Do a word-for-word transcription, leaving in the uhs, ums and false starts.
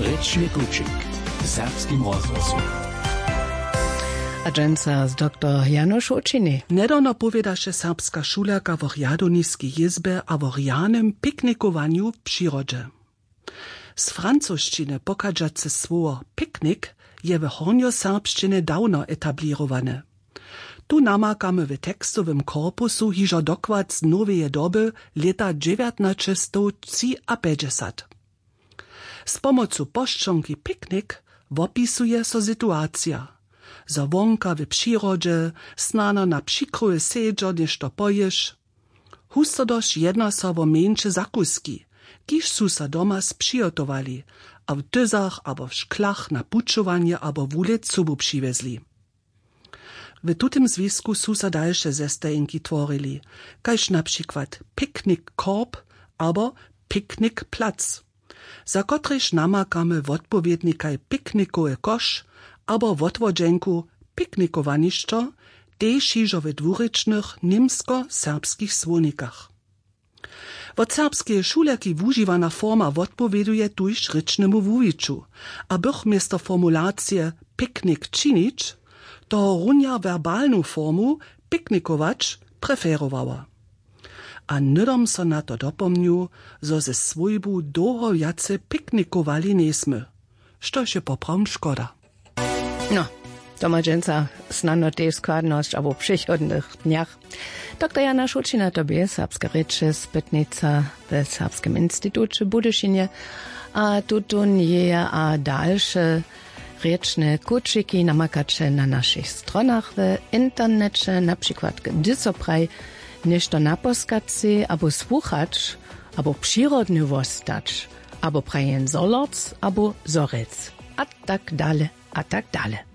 Rěčny kućik w serbskim rozhłosu. A dźensa z doktor Janoš Hoćiny. Njedawno powědaše serbska šulerka w rjadowniskej jězbje a w rjanym piknikowanju w přirodźe. Z francošćiny pochadźace słowo piknik je w hornjoserbšćinje dawno etablěrowane. Tu namakamy w tekstowym korpusu hižo dokład z noweje doby, lěta dźewjatnaćestowtřiapjećdźesat. Z pomocu pošćonki piknik wopisuje so situacija, zo wonka w přirodźe snano na přikroju sedźo něšto pojěš. Husto dož jedna so wo mjeńše zakuski, kiž su so doma spřihotowali a w tyzach abo w šklach na pućowanje abo wulěc sobu přiwjezli. W tutym zwisku su so dalše zestajenki tworili, kaž na přikład piknik korb abo piknik plac, za kotrež namakamy wotpowědnikaj piknikowy koš abo wotwodźenku piknikowanišćo, tež hižo w dwurěčnych němskoserbskich słownikach. Wot serbskeje šulerki wužiwana forma wotpowěduje tuž rěčnemu wuwiću, a bych město formulacije piknik činić tohorunja werbalnu formu piknikować preferowała. A hnydom so na to dopomnju, zo ze swójbu dołho wjace piknikowali njejsmy, štož je poprawom škoda. No, to ma dźensa snano tež składnosć abo w přichodnych dnjach. Doktor Jana Šućina to bě, serbske rěče spytnica we Serbskem instituće w Budyšinje. A tutón jeje a dalše rěčne kućiki namakaće na našich stronach w interneće, na přikład hdy so praji něšto naposkacy abo słuchać, abo přirodny wostać, abo praji jen zolorc abo zorjec, a tak dale, a tak dale.